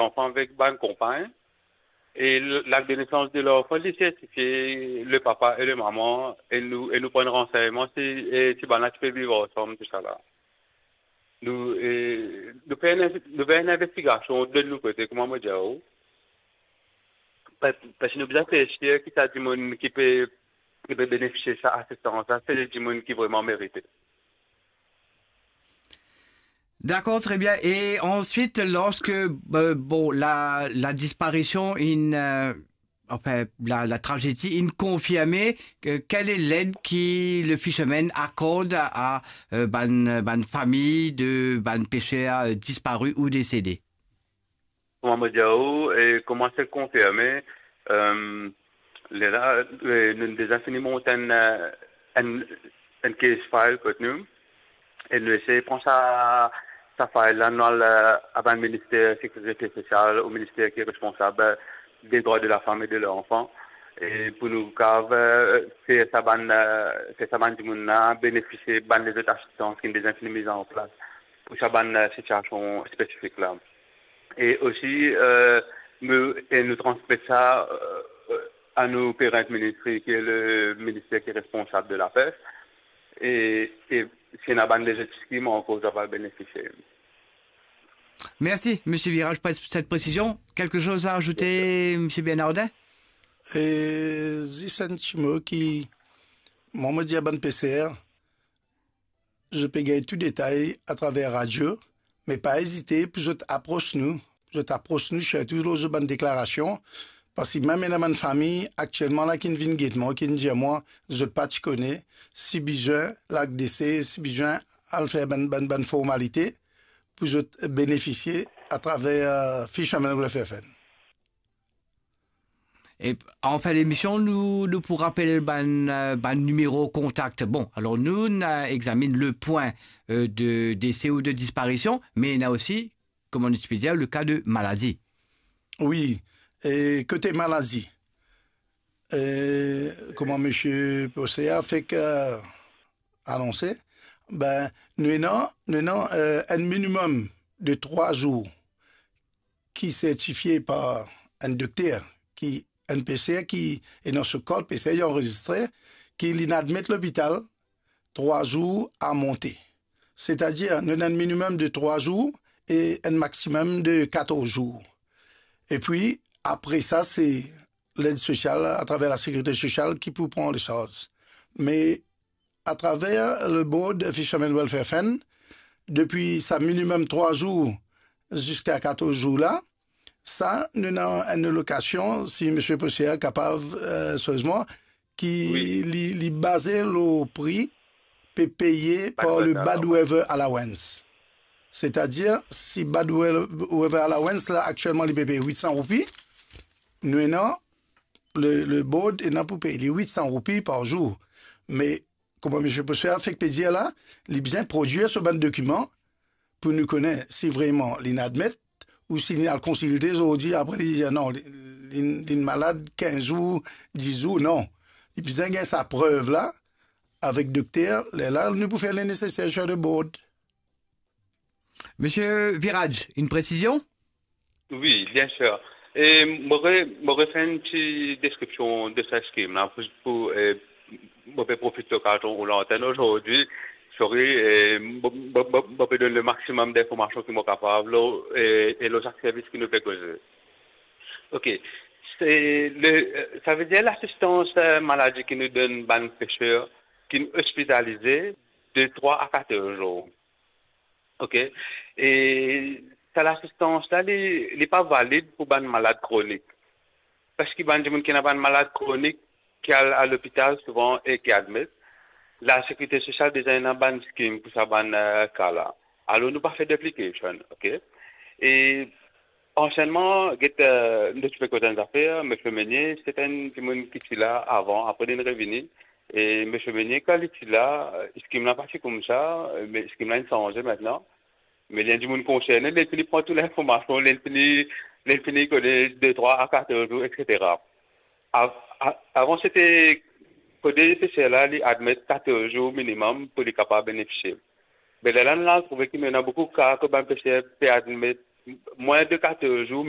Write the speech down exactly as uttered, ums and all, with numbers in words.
zanfan avek bann konpagn. E l-, l'acte de naissance de l'enfant, li sertifie le papa e le mama, e nou, e nou pran ransegnman si, e si bann la ti pe viv ansam, tousala. Nou, e, nou fer enn, nou fer enn investigasion de nou kote, kouma mo dir ou. Pa-, parski nou bizin fer sir ki sa dimoun ki pe, ki pe benefisie sa asistans la, se dimoun ki vreman merite. D'accord, très bien. Et ensuite, lorsque, euh, bon, la, la disparition, in, euh, enfin, la, la tragédie, in confirmé, euh, quelle est l'aide que le Fisherman accorde à, à, euh, bann, bann famille de bann pêcheurs, euh, disparus ou décédés? Kouma mo dir ou, e kouma se konfirme, euh, lerla, euh, nou deza fini mont enn, euh, enn, enn case file kot nou, e nou esey pran sa, sa file la, nou al, euh, a bann minister sekirite sosial, ou minister ki responsab, euh, des droits de la femme et de l'enfant, e pou nou kav, euh, fer sa bann, euh, fer sa bann dimoun la benefisie bann lezot asistans ki deza fini miz an plas pou sa bann, euh, sitiasion spesifik la. E osi, euh, nou, e nou transmet sa, euh, a nou parent ministry, ki le minister ki responsab de lapes. E, e si ena bann lezot skim ankor, sa va benefisie. Merci, Monsieur Virage, pour cette précision. Quelque chose à ajouter, Monsieur Bernardin? E zis enn ti mo ki, mwa, mo dir a bann peser, zot pe gagn tou detay atraver radio, me pa ezite pou zot apros nou, pou zot apros nou, sirtou lor zot bann deklarasion, parski mem ena bann fami aktielman la ki'nn vinn get mwa, ki'nn dir mwa, zot pa ti kone, si bizin lak dese, si bizin al fer bann, bann, bann formalite pou zot benefisie atraver, euh, Fisherman Welfare Fund. E an fin lemision, nou, nou pou rapel bann, euh, bann nimero kontak. Bon, alor nou, nou examinn le pwin, euh, de dese ou de disparision, me ena osi, kouma nou ti pe dir, le ka de maladi. Wi, e kote maladi, e, kouma Misie Posea fek, euh, anonse, be, nou ena, nou ena, euh, enn minimem de trwa zour ki sertifie par enn dokter, ki enn peser ki ena so kart peser, li anrezistre, ki li'nn admet lopital trwa zour a monte. Setadir, nou ena enn minimem de trwa zour e enn maximem de katorz zour. Epi, apre sa, se led sosial, atraver lasekirite sosial ki pou pran le sarz. Me atraver le board Fisherman Welfare Fund, depi sa minimem trwa zour ziska katorz zour la, sa, nou ena enn alokasion, si Misie Posea kapav, euh, seriezeman, ki Wi. li, li baze lor pri pe peye Bad par le weather bad allowance. Weather allowance. Setadir, si bad we-, weather allowance la, aktielman, li pe peye wit san roupi, nou ena, le, le board ena pou pey li wit san roupi par zour. Me, kouma Misie Posea fek pe dir la, li bizin prodwir so bann dokiman pou nou kone si vreman li'nn admet, ou si li al konsilte zordi, apre li dir non, li, li, li'nn malad kinz zour, dis zour, non. Li bizin gagn sa prev la avek dokter, lerla nou pou fer le neseser sir le board. Misie Virage, une précision? Wi, bien sir. E mo re-, mo refer enn ti deskripsion de sa skim la, pou, pou, e, mo pe profit lokazion ou lantenn ozordi, sorry, e, mo, mo, mo, mo pe donn le maximum d'informasion ki mo kapav, lor, e, e lor sak servis ki nou pe koze. Ok. Se le, savedir lasistans, e, maladi ki nou donn bann peser ki ospitalize de trwa a katorz zour. Ok. E sa lasistans la, li, li pa valid pou bann malad kronik. Parski bann dimoun ki ena bann malad kronik ki al a lopital souvan e ki admet, lasekirite sosial deza ena bann skim pou sa bann, e, ka la. Alor, nou pa fer duplication, ok? E ansienman, get, e, nou ti pe koz enn zafer, Misie Meunier, se enn dimoun ki ti la avan, apre li'nn revini. E Misie Meunier, kan li ti la, e, skim la pa ti koumsa, e, me skim la inn sanze aster. Me li enn dimoun konserne, li fini pran tou linformasion, li fini, li fini kone de trwa a katorz zour, etsetera. Av-, a-, avan, sete kot peser la, li admet katorz zour minimem pou li kapav benefisie. Me lerla nou al trouve ki nou ena boukou ka kot bann peser pe admet Mwin de katorz zour, me